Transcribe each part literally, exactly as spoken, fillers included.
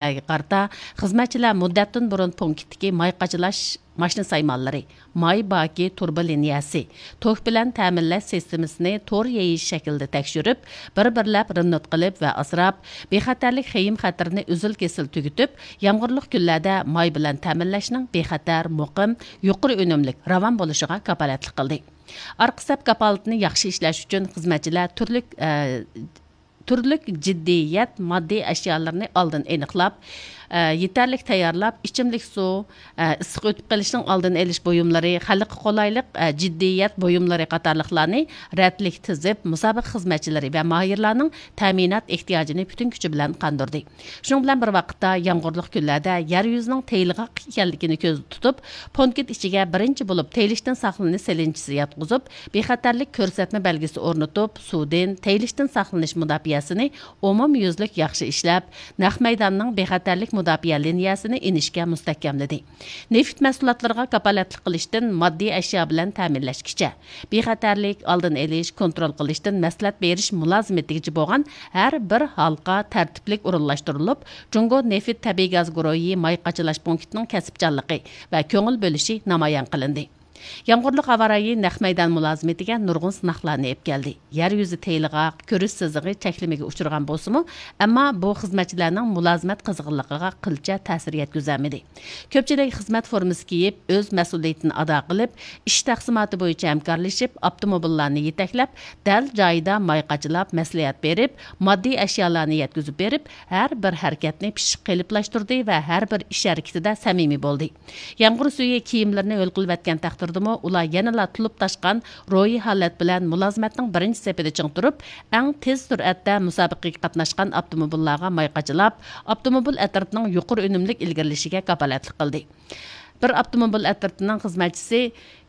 قارىتا، خىزمەتچىلەر مۇددەتتىن بۇرۇن پونكىتتىكى ماي قاچىلاش ماشىنا سايمانلىرى، ماي باكى تۇرۇبا لىنىيەسى، توك بىلەن تەمىنلەش سىستېمىسىنى تور يېيىش شەكلىدە تەكشۈرۈپ، بىر-بىرلەپ رېمونت قىلىپ ۋە ئاسراپ، بىخەتەرلىك خېيىم خەتىرىنى ئۈزۈل-كېسىل تۈگىتىپ، يامغۇرلۇق كۈنلەردە ماي بىلەن تەمىنلەشنىڭ بىخەتەر، مۇقىم، يۇقىرى ئۈنۈملۈك، راۋان بولۇشىغا كاپالەتلىك قىلدى. ئارقا سەپ كاپالىتىنى ياخشى ئىشلەش ئۈچۈن خىزمەتچىلەر تۈرلۈك، ئە، تۈرلۈك جىددىيەت ماددىي ئەشيالىرىنى ئالدىن ئېنىقلاپ، ئە، يېتەرلىك تەييارلاپ، ئىچىملىك سۇ، ئە، ئىسسىق ئۆتۈپ قېلىشنىڭ ئالدىنى ئېلىش بۇيۇملىرى، خەلققە قولايلىق، ئە، جىددىيەت بۇيۇملىرى قاتارلىقلارنى رەتلىك تىزىپ، مۇسابىقە خىزمەتچىلىرى ۋە ماھىرلارنىڭ تەمىنات ئېھتىياجىنى پۈتۈن كۈچى بىلەن قاندۇردى. شۇنىڭ بىلەن بىر ۋاقىتتا، يامغۇرلۇق كۈنلەردە يەر يۈزىنىڭ تېيىلغاق ئىكەنلىكىنى كۆزدە تۇتۇپ، پونكىت ئىچىگە بىرىنچى بولۇپ تېيىلىشتىن ساقلىنىش سېلىنچىسى ياتقۇزۇپ، بىخەتەرلىك كۆرسەتمە بەلگىسى ئورنىتىپ، سۇدىن، تېيىلىشتىن ساقلىنىش مۇداپىئەسىنى ئومۇميۈزلۈك ياخشى ئىشلەپ، نەق مەيداننىڭ بىخەتەرلىك مۇداپىئە لىنىيەسىنى ئىنچىكە مۇستەھكەملىدى. نېفىت مەھسۇلاتلىرىغا كاپالەتلىك قىلىشتىن ماددىي ئەشيا بىلەن تەمىنلەشكىچە، بىخەتەرلىك، ئالدىنى ئېلىش، كونترول قىلىشتىن مەسلىھەت بېرىش مۇلازىمىتىگىچە بولغان ھەر بىر ھالقا تەرتىپلىك ئورۇنلاشتۇرۇلۇپ، جۇڭگو نېفىت تەبىئىي گاز گۇرۇھى ماي قاچىلاش پونكىتىنىڭ كەسىپچانلىقى ۋە كۆڭۈل بۆلۈشى نامايان قىلىندى. يامغۇرلۇق ھاۋا رايى نەق مەيدان مۇلازىمىتىگە نۇرغۇن سىناقلارنى ئېلىپ كەلدى. يەر يۈزى تېيىلغاق، كۆرۈش سىزىقى چەكلىمىگە ئۇچرىغان بولسىمۇ، ئەمما بۇ خىزمەتچىلەرنىڭ مۇلازىمەت قىزغىنلىقىغا قىلچە تەسىر يەتكۈزەلمىدى. كۆپچىلىك خىزمەت فورمىسى كىيىپ، ئۆز مەسئۇلىيىتىنى ئادا قىلىپ، ئىش تەقسىماتى بويىچە ھەمكارلىشىپ، ئاپتوموبىللارنى يېتەكلەپ، دەل جايىدا ماي قاچىلاپ، مەسلىھەت بېرىپ، ماددىي ئەشيالارنى يەتكۈزۈپ بېرىپ، ھەر بىر ھەرىكەتنى پىششىق قېلىپلاشتۇردى ۋە ھەر بىر ئىش ھەرىكىتىدە سەمىمىي بولدى. يامغۇر سۈيى كىيىملىرىنى ھۆل قىلىۋەتكەن تەقدىردىمۇ، ئۇلار يەنىلا تولۇپ تاشقان روھىي ھالەت بىلەن مۇلازىمەتنىڭ بىرىنچى سېپىدە چىڭ تۇرۇپ، ئەڭ تېز سۈرئەتتە مۇسابىقىگە قاتناشقان ئاپتوموبىللارغا ماي قاچىلاپ، ئاپتوموبىل ئەترىتىنىڭ يۇقىرى ئۈنۈملۈك ئىلگىرىلىشىگە كاپالەتلىك قىلدى. بىر ئاپتوموبىل ئەترىتىنىڭ خىزمەتچىسى،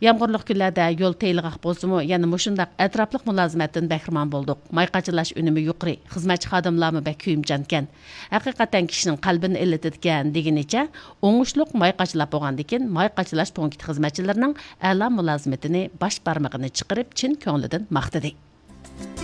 يامغۇرلۇق كۈنلەردە يول تېيىلغاق بولسىمۇ، يەنە مۇشۇنداق ئەتراپلىق مۇلازىمەتتىن بەھرىمەن بولدۇق. ماي قاچىلاش ئۈنۈمى يۇقىرى، خىزمەتچى خادىملارمۇ بەك كۆيۈمچانكەن. ھەقىقەتەن كىشىنىڭ قەلبىنى ئىللىتىدىكەن، دېگىنىچە ئوڭۇشلۇق ماي قاچىلاپ بولغاندىن كېيىن، ماي قاچىلاش پونكىتى خىزمەتچىلىرىنىڭ ئەلا مۇلازىمىتىنى باش بارمىقىنى چىقىرىپ، چىن كۆڭلىدىن ماختىدى.